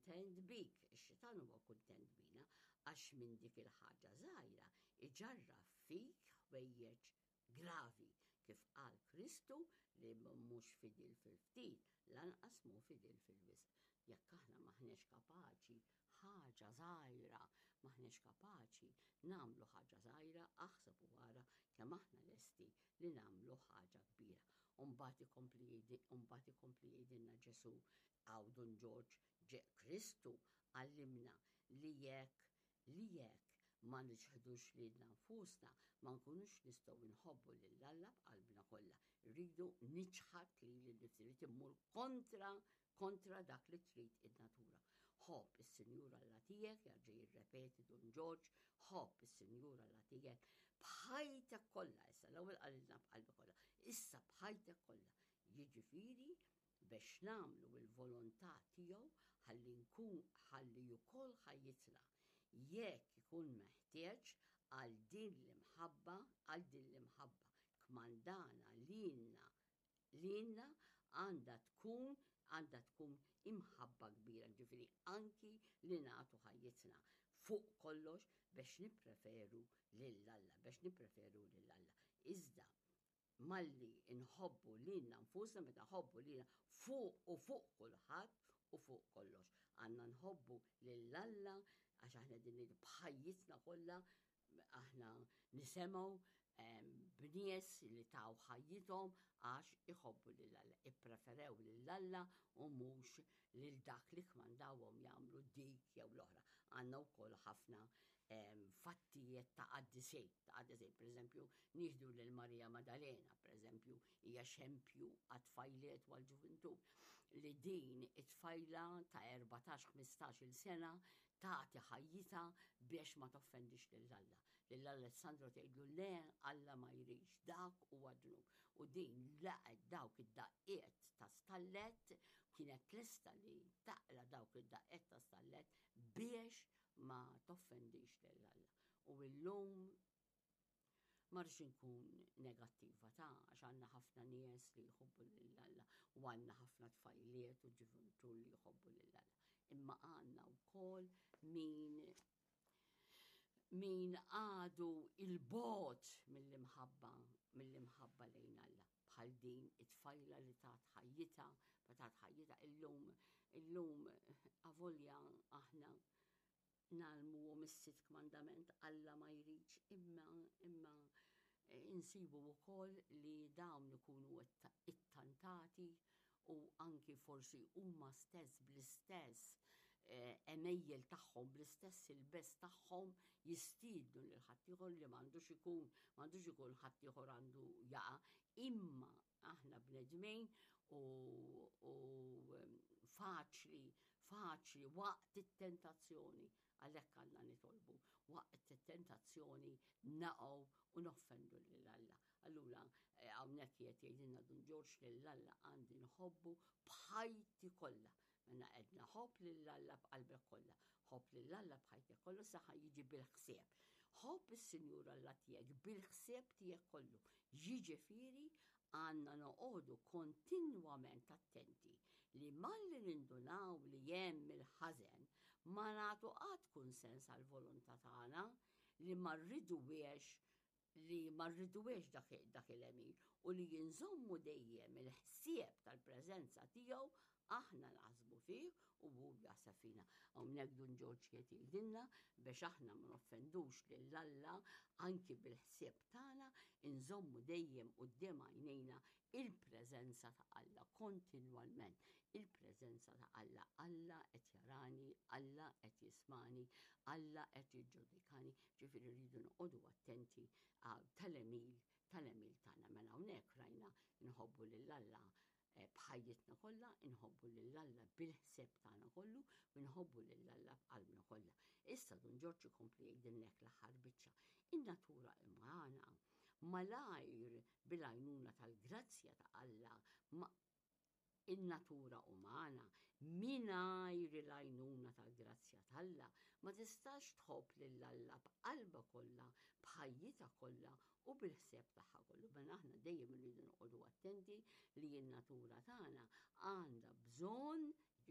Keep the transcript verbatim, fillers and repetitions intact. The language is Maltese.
kuntent bik, ix-xitan huwa kuntent bina, għax minn dik il-ħaġa żgħira iġarraf fik ħwejjeġ gravi, kif qal Kristu li mhux fidil fil-ftit, lanqas mhu fidil fil-wisq. Jekk aħna maħniex kapaċi ħaġa żgħira, maħniex kapaċi nagħmlu ħaġa żgħira, aħseb u ara kemm aħna lesti li nagħmlu ħaġa kbira. U mbagħad ikompli mbagħad ikompli jgħidilna Ġesù għaw Dun Ġorġ, Kristu għallimna li jekk li jekk ma niċħdux lilna nfusna, ma nkunux nistgħu nħobbu lil Alla b'qalbna kollha. Irridu niċħad lili nnifsi, irrid immur kontra kontra dak li trid in-natura. Ħobb is-Sinjur Alla tiegħek, jarġa' jirrepeti Dun Ġorġ, ħobb is-Sinjur Alla tiegħek b'ħajtek kollha, issa l-ewwel qalilna b'qalbi kollha, issa b'ħajtek kollha. Jiġifieri biex nagħmlu l-volontà tiegħu ħalli nkun ħalli wkoll ħajjitna jekk ikun meħtieġ għal din l-imħabba, għal din l-imħabba kmandana lilna lilna għandha tkun għandha tkun imħabba kbira, ġifieri anki li nagħtu ħajjitna fuq kollox biex nippreferu lil Alla, biex nippreferu lil Alla. Iżda malli nħobbu lilna nfusna, meta nħobbu lilna fuq u fuq kulħadd u fuq kollox. Għandna nħobbu lil Alla għax aħna din b'ħajjitna kollha aħna nisimgħu b'nies li taw ħajjithom għax iħobbu lil Alla, ippreferew lil Alla u mhux lil dak li kmandawhom jagħmlu dik jew l-oħra. Għandna wkoll ħafna fattijiet ta' qaddisin, ta' qaddisin, per eżempju, nieħdu lil Marija Maddalena, per eżempju, hija xempju għat-tfajliet u għall-ġuvintur, li din it-tfajla ta' erbatax, ħmistax il sena tagħti ħajjitha biex ma toffendix lil Alla. Lil Alessandro tgħidlu le, Alla ma jridx, dak huwa dnub. U din laqgħet dawk id-daqqiet ta' stallet, kienet lesta li taqla dawk id-daqqiet ta' stallet biex ma toffendix lil Alla. U llum ma rridx inkun negattiva ta' għax għandna ħafna nies li jħobbu lil Alla u għandna ħafna tfajliet u ġuvintur li jħobbu lil Alla. Imma għandna wkoll min min għadu il-bot mill-imħabba, mill-imħabba lejn Alla. Bħal din it-tfajla li tat ħajjitha, ma tat ħajjitha illum, illum avolja aħna nagħmlu mis-sitt kmandament Alla ma jridx, imma, imma insibu wkoll li dawn ikunu ittantati u anki forsi huma stess bl-istess, eh, għemejjel tagħhom, bl-istess il-bes tagħhom jistiednu lil ħaddieħor li m'għandux ikun, m'għandux ikun ħaddieħor għandu jaqa', imma aħna bnedmin u, u faċli, faċli waqt it-tentazzjoni, għalhekk għandna nitolbu, waqt it-tentazzjoni naqgħu u noffendu lil Alla. Allura, eh, hawnhekk qed jgħidilna Dun Ġorġ lil Alla għandi nħobbu b'ħajti kollha. Mela qedna ħobb lil Alla b'qalbek kollha, ħobb lil Alla b'ħajtek kollha, saħħa jiġi bil-ħsieb. Ħobb is-Sinjur Alla tiegħek bil-ħsieb tiegħek kollu. Jiġifieri għandna noqogħdu kontinwament attenti li malli nindunaw li hemm il-ħażen ma nagħtu qatt kunsens għall-volontà tagħna li ma rriduwiex li ma rriduwiex dak, dak il-għemil u li jinżommu dejjem il-ħsieb tal-preżenza tiegħu aħna naħsbu fih u hu jaħseb fina. Hawnhekk Dun Ġorġ qed jgħidilna biex aħna ma noffendux lil Alla anki bil-ħsieb tagħna, inżommu dejjem quddiem għajnejna il-preżenza ta' Alla kontinwalment. Il-preżenza ta' Alla, Alla qed jarani, Alla qed jismani, Alla qed jiġġudikani, ġifieri rridu noqogħdu attenti tal-għemil, tal-għemil tagħna. Mela hawnhekk rajna nħobbu lil Alla b'ħajjitna kollha, inħobbu lil Alla bil-ħsieb tagħna kollu, u nħobbu lil Alla b'qalbna kollha. Issa Dun Ġorġ ikompli jgħidilnek l-aħħar biċċa. In-natura umana malajr bil-għajnuna tal-grazzja ta' Alla, ma in-natura umana mingħajr il-għajnuna tal-grazzja t'Alla ma tistax tħobb lil Alla b'qalbha kollha, b'ħajjitha kollha u bil-ħsieb tagħha kollu. Mela aħna dejjem irridu noqogħdu attenti li n-natura tagħna għandha bżonn